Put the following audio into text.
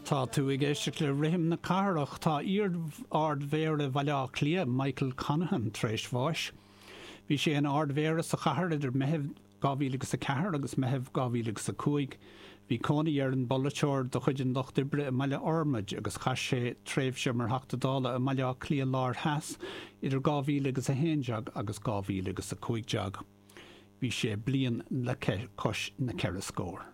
Tá tú ag éisteacht le Rithim na Cathrach. Tá iar-Ard-Mhéara Bhaile Átha Cliath, Michael Conaghan, tar éis bháis. Bhí sé ina Ard-Mhéara sa chathair idir Meitheamh 2004 agus Meitheamh 2005. Bhí cónaí ar an bpolaiteoir de chuid an Lucht Oibre i mBaile Fhormaid agus chaith sé tréimhse mar Theachta Dála i mBaile Átha Cliath Láir Theas idir 2011 agus 2015. Bhí sé bliain le cois na ceithre scór.